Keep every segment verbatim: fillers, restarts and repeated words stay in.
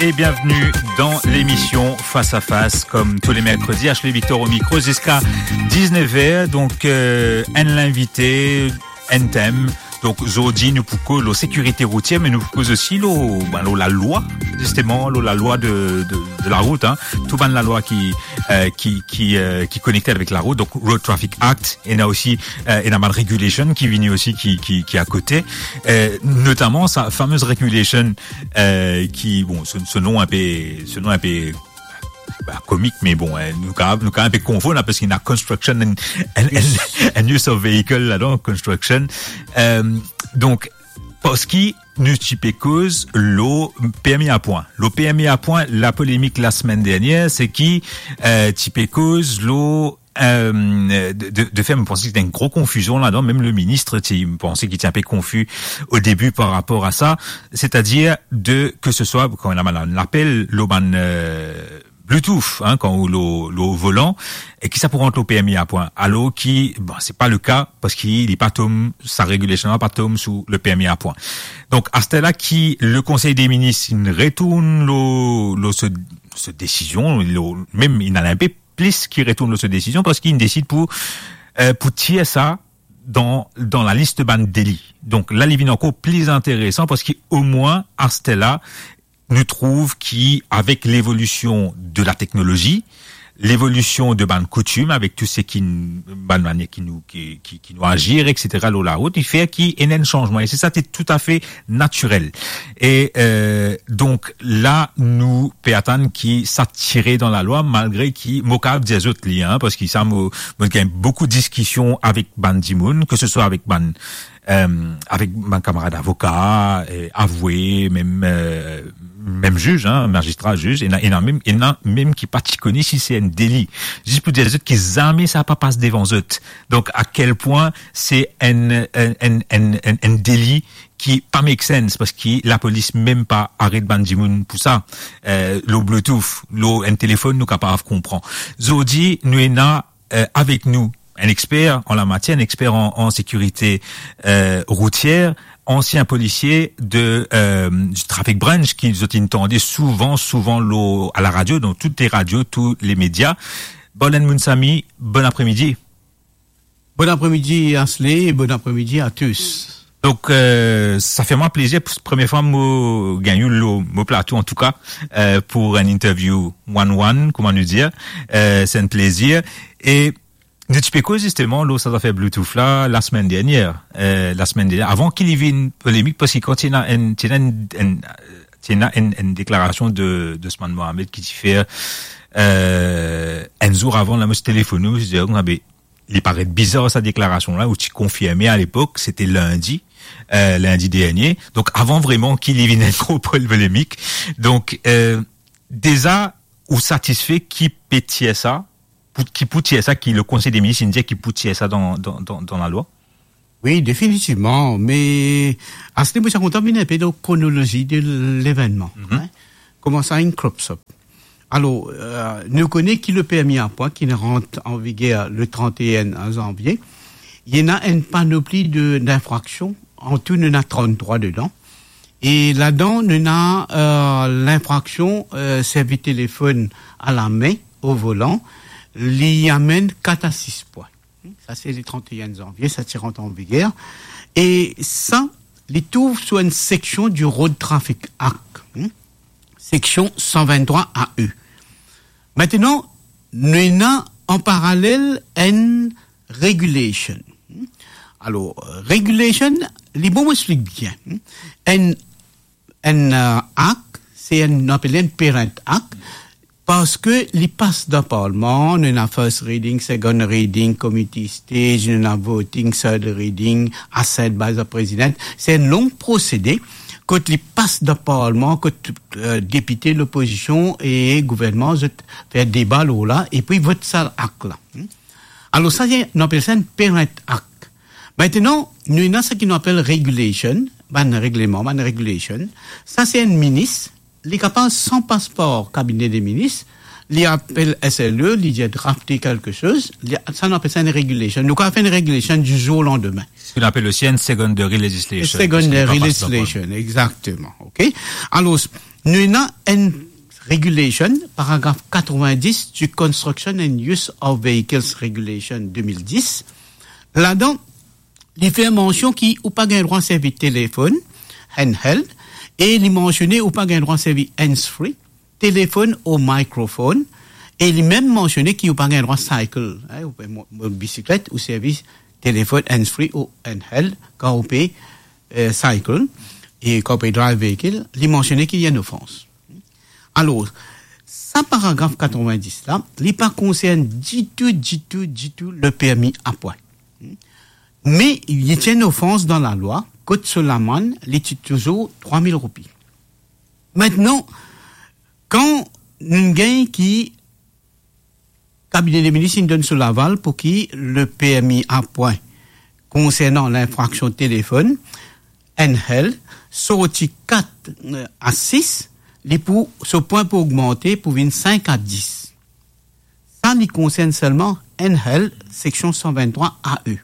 Et bienvenue dans l'émission Face à Face, comme tous les mercredis, Ashley Victor au micro jusqu'à dix-neuf heures. Donc, euh, enn invité, enn tem. Donk, zordi, nou pou koz lor sekirite routier, me nou pou koz osi lor, ben, lor lalwa, zisteman, lor lalwa de, de, de larout, hein. Tou bann lalwa ki, euh, ki, ki, euh, ki konekte avek larout. Donk, Road Traffic Act, ena osi, euh, ena bann regulation ki vini osi, ki, ki, ki akote. Euh, notaman, sa fameuse regulation, euh, ki, bon, so, so nom inpe, so nom inpe, ba, komik, me bon, hein, nou kapav, nou kapav inpe konfonn, hein, parski ena construction and, and, and, and use of vehicle ladan, construction. Euh, donk, parski nou ti pe koz lor permi a pwin. Lor permi a pwin, lapolemik lasemenn dernier, se ki, euh, ti pe koz lor, euh, de, de, de fer, mo panse ki ti ena enn gro konfizion ladan, mem le minis ti, mo panse ki ti inpe konfi o debi par rapor a sa, setadir de, ke se swa, kan ena bann lapel lor bann, euh, Bluetooth, hein, kan ou lor, lor volan, e ki sa pou rant lor permi a pwin. Alor ki, bon, se pa le ka, parski li pa tom, sa regulation la pa tom sou le permi a pwin. Donk, aster la ki le Konsey de Minis inn retourn lor, lor se, se desizion, lor, mem inn al inpe plis ki retourn lor se desizion, parski inn desid pou, euh, pou tir sa dan, dan lalis bann deli. Donk, la, li vinn ankor pli interesan, parski omwin, aster la, nou trouv ki avek levolision de lateknolozi, levolision de bann koutim, avek tou seki n-, bann manier ki nou, ki, ki, ki nou azir, et cetera, lor larout, li fer ki ena enn sanzman. E se sa, se toutafe natirel. E, euh, donk, la, nou pe atann ki sa tire dan lalwa, malgre ki, mo kapav dir zot li, hein, parski sa, mo, mo gagn boukou diskision avek bann dimoun, ke se swa avek bann euh, avek bann kamarad avoka, euh, avwe, mem, euh, mem ziz, hein, mazistra, ziz, ena, ena mem, ena mem ki pa ti kone si se enn deli. Zis pou dir zot ki zame sa pa pas devan zot. Donk, a kel pwin se enn, enn, enn, enn, enn, enn deli ki pa make sense, parski lapolis mem pa aret bann dimoun pou sa. Euh, lor Bluetooth, lor enn telefonn, nou kapav konpran. Zordi, nou ena euh, avek nou enn exper an lamatier, enn exper an, an sekirite, euh, routier, ansien polisie de, euh, du traffic branch ki zot inn tande souvan, souvan lor, a laradio, dan tou le radio, tou le media. Bolin Mounsami, bon apremidi. Bon apremidi, Ashley, e bon apremidi a tous. Donk, euh, sa fer mwa plezir, pou premie fwa mo gagn ou lor mo plato, antouka, euh, pou enn interview one-one, kouma nou dir, euh, se enn plezir. E nou ti pe koz zisteman lor sa zafer Bluetooth la, lasemenn dernier, euh, lasemenn dernier, avan ki li vinn polemik, parski kan ti ena enn, ti ena enn, enn, ti ena enn, enn deklarasion de, de Ousmane Mohamed ki ti fer, euh, enn zour avan la, mo ti telefonn ou, mo ti dir, ah be, li paret bizar sa deklarasion la, ou ti konfirme a lepok, se te lindi, euh, lindi dernier. Donk, avan vreman ki li vinn enn gro polemik. Donk, euh, deza, ou satisfe ki pe tir sa, pou, ki pou tir sa, ki le Konsey de Minis inn dir ki pou tir sa dan, dan, dan, dan lalwa? Wi, definitivman. Me, Ashley, mo ti kontan vinn enpe dan kronolozi de levennman, hein. Kouma sa inn crop up. Alor, euh, nou kone ki le permi a pwin ki rant an viger le trente et un zanvie, li ena enn panopli de, d'infraksion, an tou nou ena tranntrwa dedan. E ladan, nou ena, euh, linfraksion, euh, servi telefonn a lame o volan, li amenn kat a sis pwin. Sa se le trente et un zanvie, sa ti rant an viger. E sa, li trouv sou enn seksion du Road Traffic Act, hmm, seksion san venntrwa A E. Aster, nou ena an paralel enn regulation. Alor, regulation, li, bon, mo explik bien. Enn, enn, euh, act, se enn, nou apel enn Parent Act, parski li pas dan parlman, nou ena first reading, second reading, committee stage, nou ena voting, third reading, assent by the president. Se enn long prosede, kot li pas dan parlman, kot, euh, depite, lopozision e gouvernman, zot fer deba lor la, epi vot sa act la. Alor sa, se, nou apel sa enn Parent Act. Aster, nou ena seki nou apel regulation, bann regleman, bann regulation. Sa se enn minis, li kapav san pas par kabine de minis, li apel S L E, li dir drafte kelke soz, li, sa nou apel sa enn regulation. Nou kapav fer enn regulation du jour au lendemain. Seki nou apel osi enn secondary legislation, parski li pa pas dan parlman. Secondary legislation, exactement, ok. Alor, Nou ena enn regulation, paragraf katrevin-dis du Construction and Use of Vehicles Regulation de mil dis. Ladan, li fer mansion ki ou pa gagn drwa servi telefonn handheld, e li mansione ou pa gagn drwa servi hands-free, telefonn ou microphone, e li mem mansione ki ou pa gagn drwa cycle, hein, ou pe mo-, mo-, bisiklet, ou servi telefonn hands-free ou handheld, kan ou pe, eh, cycle, e kan ou pe drive vehikil, li mansione ki li enn ofans. Alor, sa paragraf katrevin-dis la, li pa konsern ditou, ditou, ditou le permi a pwin. Me li ti enn ofans dan lalwa, kot so lamann, li ti touzour trwa mil roupi. Aster, kan nou gagn ki kabine de minis inn donn so laval pou ki le permi a pwin konsernan linfraksion telefonn handheld sorti kat, eh, a sis, li pou, so pwin pou ogmante pou vinn sink a dis. Sa li konsern selman handheld, seksion san vinn-trwa A E.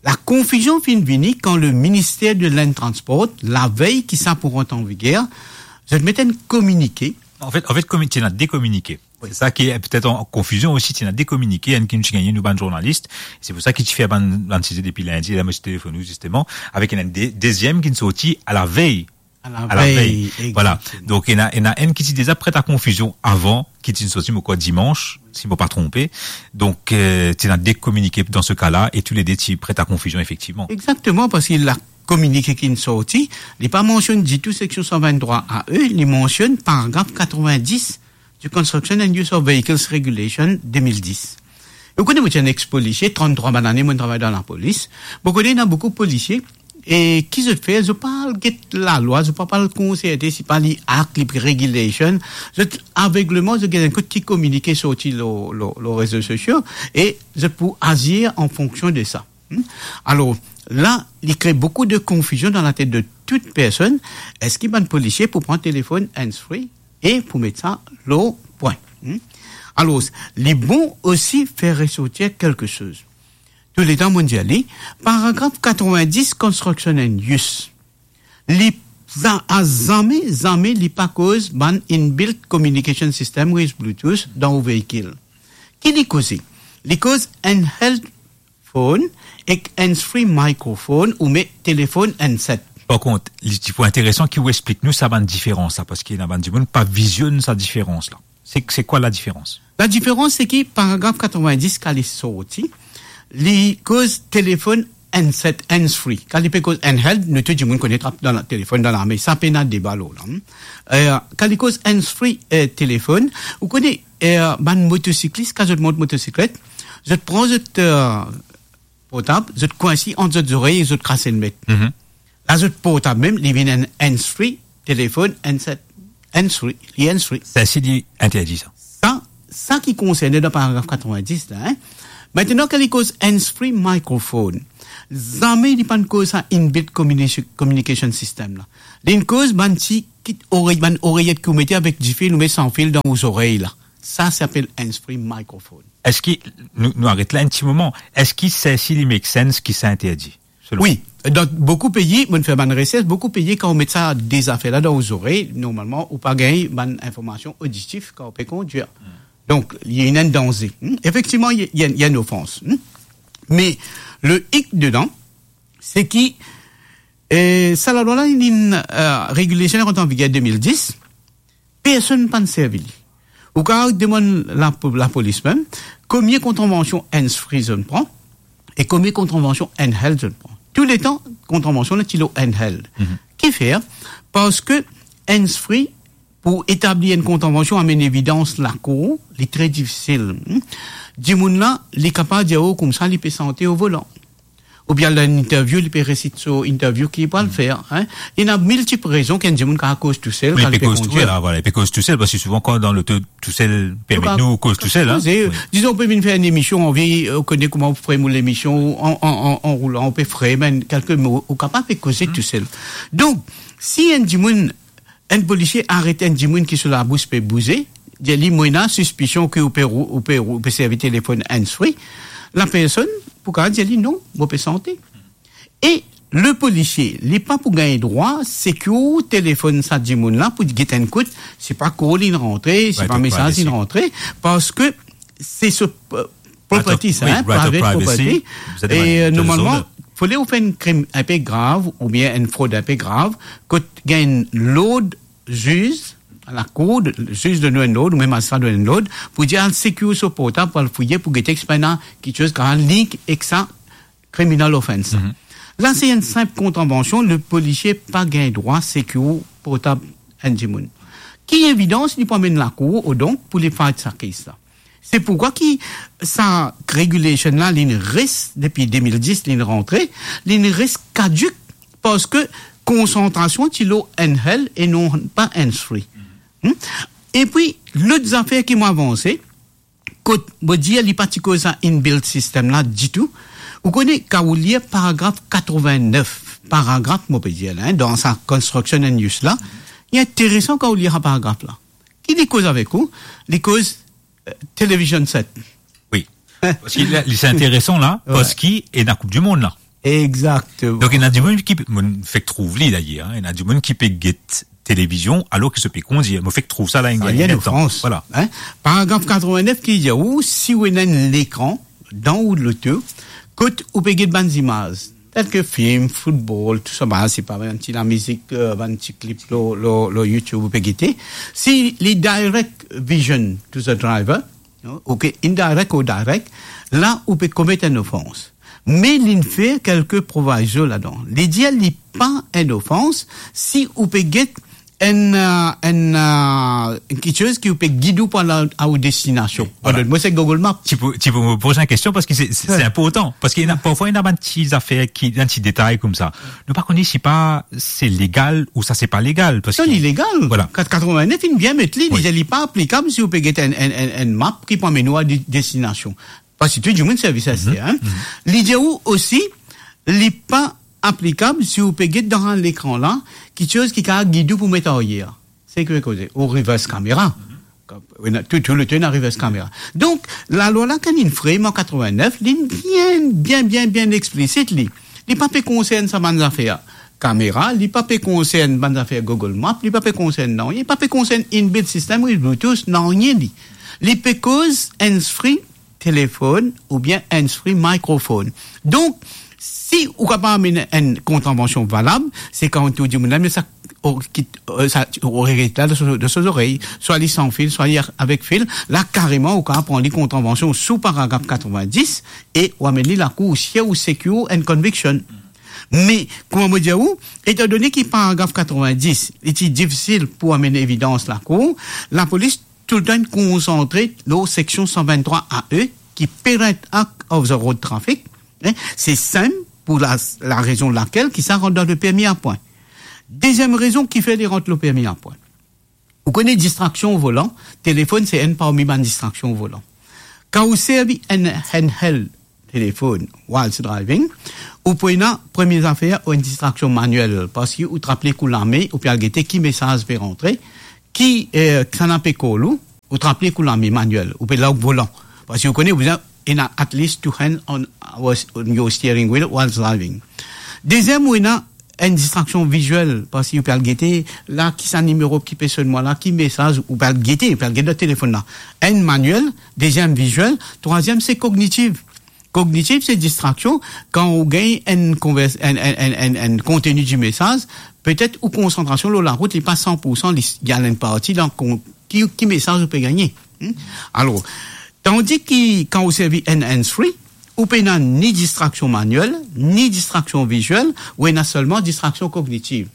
Lakonfizion finn vini kan le Ministère de Land Transport, lavey ki sa pou rant an viger, zot met enn kominike. An fet, an fet, komi-, ti ena de kominike. Wi. Se sa ki, eh, petet an, an konfizion osi, ti ena de kominike, enn ki nou ti gagne, nou bann zournalis. Se pou sa ki ti fer bann, bann size depi lindi, la mo ti telefonn ou, zisteman, avek enn de-, deziem ki sorti a lavey. A lavey, voilà. Egzakteman. Donk, ena, ena enn ki ti deza pret a konfizion avan, ki ti sorti, mo krwar, dimans, si mo pa tronpe. Donk, eh, ti ena de kominike dan se ka la, e toulede ti pret a konfizion, efektivman. Egzakteman, parski la kominike ki sorti, li pa mansionn ditou seksion san vinn-trwa A E, li mansionn paragraf katrevin-dis du Construction and Use of Vehicles Regulation de mil dis. Ou kone, mo ti enn ex-polisie, tranntrwa bann ane, mo travay dan lapolis. Mo kone, ena boukou polisie, e ki zot fer, zot pa al get lalwa, zot pa, pa al konserte, si pa li act, li regulation. Zot avegleman, zot get enn kot ki kominike sorti lor, lor, lor rezo sosio, e zot pou azir an fonksion de sa. Hmm? Alor, la, li kre boukou de konfizion dan latet de tou personn. Eski bann polisie pou pran telefonn hands-free e pou met sa lor pwin? Hmm? Alor, li bon osi fer resortir kelke soz. Touletan, mo dir li, paragraf katrevin-dis, construction and use. Li za-, a zame, zame li pa koz bann inbuilt communication system with Bluetooth dan ou veikil. Ki li koze? Li koz handheld phone ek hands-free microphone oubien telefonn handset. Par kont, li ti pou interesan ki ou explik nou sa bann diferans la, parski ena bann dimoun pa vizionn sa diferans la. Se, se kwa la diferans? La diferans, se ki paragraf katrevin-dis, kan li sorti, li koz telefonn handset, hands-free. Kan li pe koz handheld, nou tou dimoun kone trap dan la, telefonn dan lame. Sa pena deba lor la, hmm. Eh, kan li koz hands-free, eh, telefonn, ou kone, eh, bann motosiklis, kan zot mont motosiklet, zot pran zot, eh, portab, zot kwins li ant zot zorey e zot kras enn met. Mhm. La, zot portab mem, li vinn enn hands-free, telefonn, handset, hands-free, li hands-free. Sa, si li interdi sa. Sa, sa ki konserne dan paragraf katrevin-dis la, hein. Aster, kan li koz hands-free microphone, zame li pa'nn koz sa inbuilt communi-, communication system la. Li'nn koz bann ti kit orey, bann oreyet ki ou mete avek difil, ou met san fil dan ou zorey la. Sa, sa apel hands-free microphone. Eski, nou, nou aret la enn ti moman, eski sa, si li make sense ki sa interdi? Selon ou? Wi, dan boukou pei, mo'nn fer bann resers, boukou pei, kan ou met sa de zafer la dan ou zorey, normalman, ou pa gagn bann informasion oditif kan ou pe kondir. Hmm. Donk, li ena enn danze. Hmm? Efektivman, li, li, li enn ofans. Hmm? Me le hic dedan, se ki, eh, sa lalwa la, li, eh, regulation la rant an viger de mil dis, personn pa'nn servi li. Ou kapav demann la, lapolis mem, konbien kontrevansion hands-free zot pran, e konbien kontrevansion handheld zot pran. Touletan, kontrevansion la ti lor handheld. Mhm. Kifer? Parski hands-free, pou etabli enn kontrevansion, amenn evidans lakour, li tre difisil, hmm. Dimoun la, li kapav dir ou koumsa, li pe sante o volan. Oubien al dan enn interview, li pe resit so interview ki li pral fer, hein. Ena miltip rezon ki enn dimoun kapav koz tousel, kan li pe kondir. Wi, li pe koz tousel, parski souvan kan dan loto tousel, permet nou koz tousel, hein. Wi. Dizon, ou pe vinn fer enn emision, anvi, eh, kone kouma ou frem ou lemision, an, an, an, an roulan, ou pe frem enn kelke mo, ou kapav pe koze tousel. Donk, si enn dimoun, enn polisie aret enn dimoun ki so labous pe bouze, dir li, mo ena sispision ki ou pe rou-, ou pe rou-, ou pe servi telefonn hands-free, lapersonn pou kapav dir li, non, mo pe sante. E Le polisie, li pa pou gagn drwa secure telefonn sa dimoun la pou get enn kout, se pa call inn rantre, se pa mesaz inn rantre, parski se so, euh, property sa, hein, private property. E, euh, normalman, fode ou fer enn krim inpe grav oubien enn frod inpe grav, kot gagn lord ziz, lakour, ziz donn ou enn lord, oubien mazistra donn enn lord, pou dir al secure so portab, pou al fouye, pou gete ki ena kiksoz ki link ek sa criminal offense. La, se enn sinp kontranvansion, le polisie pa gagn drwa secure portab enn dimoun. Ki evidans li pou amenn lakour, odonk, pou li fight sa case la? Se poukwa ki sa regulation la, li'nn res depi de mil dis, li'nn rantre, li'nn res kadik, parski konsantrasion ti lor handheld e non pa hands-free. Hmm? Epi, lot zafer ki mo avanse, kot mo dir li pa ti koz sa inbuilt system la ditou. Ou kone, kan ou lir paragraf katrovennef, paragraf, mo pe dir la, hein, dan sa construction and use la, li interesan kan ou lir sa paragraf la. Ki li koz avek ou? Li koz, euh, television set. Wi. Parski la, li, se interesan la, parski ena Koup di Mond la. Exactement. Donk, ena dimoun ki, mo fek trouv li dayer, hein, ena dimoun ki pe get televizion alor ki zot pe kondir. Mo fek trouv sa la, enn, enn ofans. Voilà. Hein? Paragraf katrovennef ki dir ou, si ou ena enn lekran dan ou loto, kot ou pe get bann zimaz, tel ki film, football, tou sa, ba, se pa bann ti lamizik, euh, bann ti clip lor, lor, lor YouTube ou pe gete. Si li direct vision to the driver, non? Ok, indirect or direct, la ou pe komet enn ofans. Me li'nn fer kelke proviso ladan. Li dir li pa enn ofans si ou pe get enn, euh, enn, euh, kiksoz ki ou pe gid ou pou al a, a ou destinasion. Voilà. Mo, se Google Maps. Ti pou, ti pou mo poz enn kestion, parski se, se, se inportan. Parski ena, parfwa, ena bann ti zafer ki, bann ti detay koumsa. Nou pa kone si pa se legal ou sa se pa legal, parski... Non, li legal. Voilà. Kat-, katrovennef, inn bien met li, li dir li pa aplikab si ou pe get enn, enn, enn, enn map ki pou amenn ou a de-, destinasion. Parski tou dimoun servi sa, hein. Li dir ou osi, li pa aplikab si ou pe get dan lekran la, kiksoz ki kapav gid ou pou met aryer. Seki ou pe koze, ou reverse camera. Ena, tou, tou letan ena reverse camera. Donk, lalwa la, kan li'nn frame an katrovennef, li'nn bien, bien, bien, bien explisit, li. Li pa pe konsern sa bann zafer kamera, li pa pe konsern bann zafer Google Maps, li pa pe konsern nanye, li pa pe konsern inbuilt system, wi, Bluetooth, nanye li. Li pe koz hands-free, telefonn oubien hands-free microphone. Donk, si ou kapav amenn enn kontranvansion valab, se kan ou dir dimoun la, me sa, o, ki, o, sa, o, reget la dan so, dan so zorey, swa li san fil, swa li a-, avek fil, la kareman ou kapav pran li kontranvansion sou paragraf katrovendis e ou amenn li lakour, ou secure enn conviction. Me, kouma mo dir ou, etandone ki paragraf katrovendis, li ti difisil pou amenn evidans lakour, lapolis toultan konsantre lor seksion san venntrwa A E, ki Parent Act of the Road Traffic, hein, se sinp pou la, la rezon lakel ki sa rant dan le permi a pwin. Deziem rezon ki fer li rant le permi a pwin. Ou kone distraksion o volan, telefonn se enn parmi bann distraksion o volan. Kan ou servi enn handheld telefonn whilst driving, ou pou ena premie zafer ou enn distraksion manuel, parski ou trap li ek ou lame, ou pe al gete ki mesaz pe rantre, ki, eh, kisannla pe call ou, ou trap li ek ou lame manuel, ou pe larg volan. Parski ou kone, ou bizin ena at least two hands on, on your steering wheel whilst driving. Deziem, ou ena enn distraksion viziel, parski ou pe al gete la, ki sa nimero ki pe sonn mwa la, ki mesaz, ou pe al gete, ou pe al gete dan telefonn la. Enn manuel, deziem viziel, trwaziem se kognitiv. Kognitiv, se distraksion, kan ou gagn enn konvers-, enn, enn, enn, enn, enn konteni di mesaz, petet ou konsantrasion lor larout, li pa san pou san, li, li al enn parti dan kon-, ki, ki mesaz ou pe gagne. Hmm? Alor, tandi ki kan ou servi enn hands-free, ou pena ni distraksion manuel, ni distraksion viziel, ou ena selman distraksion kognitiv.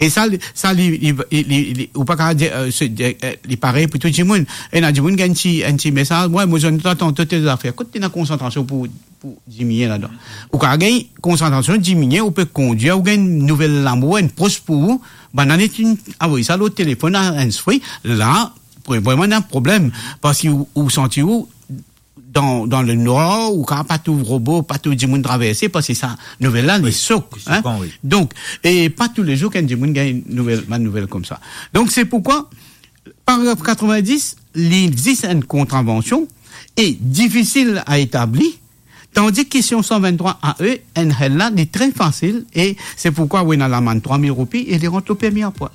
E sa, li, sa, li, li, li, li, li, ou pa kapav dir, eh, se, eh, eh, li parey pou tou dimoun. Ena dimoun gagn ti, enn ti mesaz, "Wi, mo zwenn twa tanto tel zafer." Kot ena konsantrasion pou, pou diminie ladan? Ou kapav gagn konsantrasion diminie, ou pe kondir, ou gagn nouvel lamour, enn pros pou ou, bann ane ti avoy sa lor telefonn, a hands-free, la, pou, vreman ena problem, parski ou, ou santi ou dan, dan lenwar, ou kapav pa trouv robo, pa trouv dimoun traverse, parski sa nouvel la, li sok, hein? Wi, li sokan, wi. Donk, e pa toulezour ki enn dimoun gagn nouvel, bann nouvel koumsa. Donk, se poukwa, paragraf katrovendis, li zis enn kontranvansion e difisil a etabli, Tandis ki si on san venntrwa A E, enn hel la, li tre fasil, e se pourkwa ou ena lamann trwa mil roupi e li rant lor permi a pwa.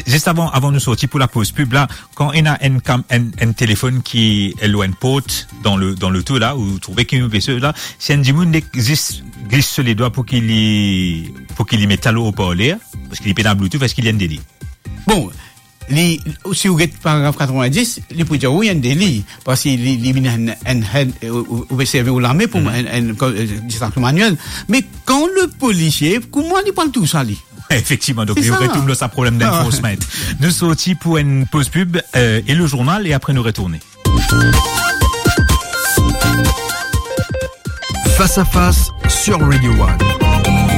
Zis avan, avan nou sorti pou lapoz pib la, kan ena enn kam-, enn, enn telefonn ki lor enn port dan le, dan loto la, ou trouve ki nou pe swiv la, si enn dimoun li zis glis so ledwa pou ki li, pou ki li met sa lor oparler, paski li pena Bluetooth, eski li enn deli? Bon, li, si ou get paragraf katrevin-dis, li pou dir wi, enn deli, paski li, li vinn enn, enn, enn, ou, ou, ou pe servi ou lame pou enn, enn, enn, eh, distraction manuelle. Me kan le polisie, kouma li pran tou sa, li? Efektivman, donk li retourn lor sa problem d'enforcement. Nou sorti pou enn poz pib, eh, e le journal, e apre nou retourne. Face à face sur Radio One.